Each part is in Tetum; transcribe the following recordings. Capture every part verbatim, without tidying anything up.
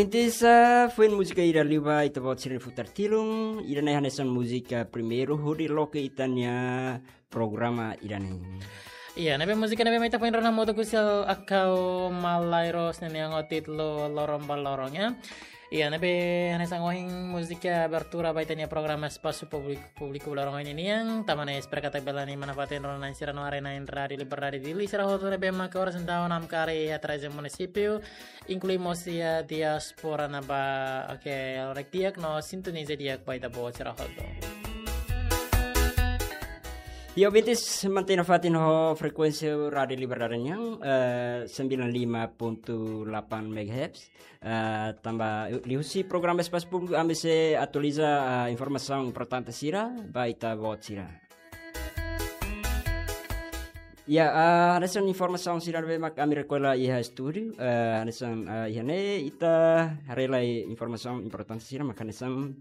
Intisa, foin múzika ida liu ba ita-boot sira-nia futar tilun, ida-ne'e hanesan múzika primeiru hodi loke ita-nia programa ida-ne'e. Iya, ne'ebé múzika ne'ebé mak ita foin rona hamutuk husi Akau Malairos ne'e nian ho títulu Loron ba Loron, ya. Iya, ne'ebé hanesan ohin múzika abertura ba ita-nia programa Espasu Públiku, Públiku Loron ohin nian, tanba ne'e espera katak bele manfaat rona-na'in sira no haree-na'in Rádiu Liberdade Dili sira hotu ne'ebé mak oras entaun namkari iha treze munisípiu, inklui mós iha diáspora ne'ebá, oke, haree di'ak no sintoniza di'ak ba ita-boot sira hotu. Iya, ouvintes, mantein nafatin ho frekuénsia Rádiu Liberdade nian, eh, sembilan lima ponto delapan megahertz. Eh, tanba liuhusi programa Espasu Públiku ami sei atualiza, eh, informasaun importante sira ba ita-boot sira. Ya, eh, hanesan informasaun sira ne'ebé mak ami rekolla iha estúdiu, eh, hanesan, eh, iha ne'e ita haree lai informasaun importante sira mak hanesan,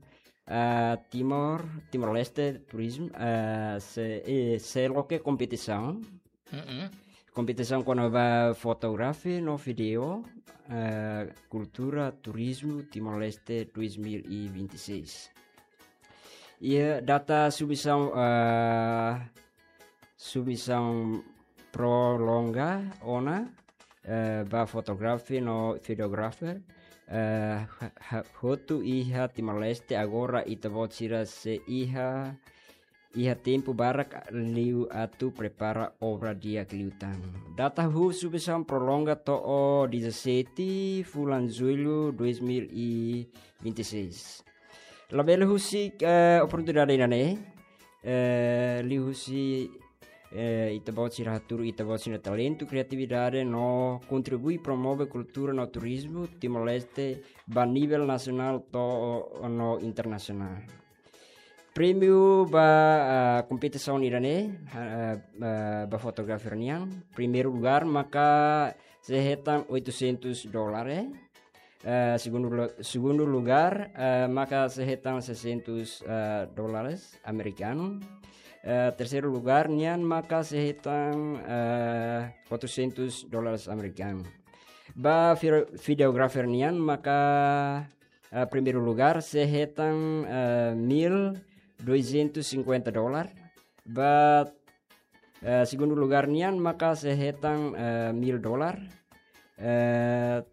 eh, Timor, Timor-Leste, turizmu, eh, sei, eh, sei loke kompetisaun. Mm-mm. Kompetisaun kona-ba fotografia no vídeo, eh, kultura, turizmu, Timor-Leste dois mil e vinte e seis. Iha data submisaun, eh, submisaun prolonga ona, eh, ba fotografer no videografer, eh, ha-, ha-, hotu iha Timor-Leste, agora ita-boot sira sei iha, iha tempu barak liu atu prepara obra di'ak liután. Data hahú submisaun prolonga to'o dezassete fulan Jullu dois mil e vinte e seis. Labele husik, eh, oportunidade ida-ne'e, eh, liuhusi, eh, ita-boot sira hatuur ita-boot sira-nia talentu, kriatividade no kontribui promove kultura no turizmu Timor-Leste ba nivel nasionál to'o no internasionál. Prémiu ba, ah, kompetisaun ida-ne'e, ah, ah, ba fotografer nian. Primeiru lugar maka sei hetan oitocentos dólares. Eh, segundu lu-, segundu lugar, eh, maka sei hetan seiscentos, eh, dólares amerikanu. Eh, terseiru lugar nian maka sei hetan, eh, quatrocentos dólares amerikanu. Ba vide-, videografer nian maka, eh, primeiru lugar sei hetan, eh, mil duzentos e cinquenta dólar. Ba, eh, segundu lugar nian maka sei hetan, eh, mil dólar. Eh,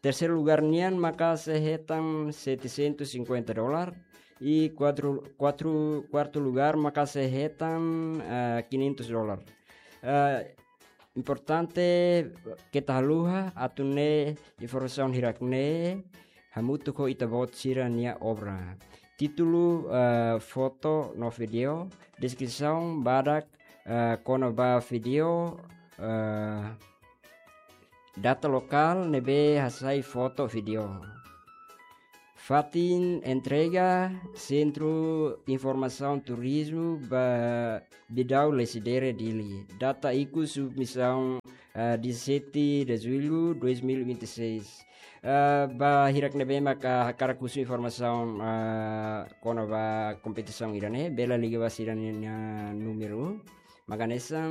terseiru lugar nian maka sei hetan setecentos e cinquenta dólar. I kuartu, kuartu, kuartu lugar maka sei hetan, eh, quinhentos dólar. Eh, importante keta haluha atu nune'e informasaun hirak-ne'e hamutuk ho ita-boot sira-nia obra. Títulu, eh, foto no vídeo, deskrisaun badak, eh, kona-ba vídeo, eh, data lokál ne'ebé hasai foto vídeo. Fatin entrega, Sentru Informasaun Turizmu ba Bidau Lecidere Dili. Data ikus submisaun, eh, dezassete de Jullu dois mil e vinte e seis. Eh, ba hirak ne'ebé maka hakarak husu informasaun, eh, kona-ba kompetisaun ida-ne'e, bele liga ba sira-nia númeru. Mak hanesan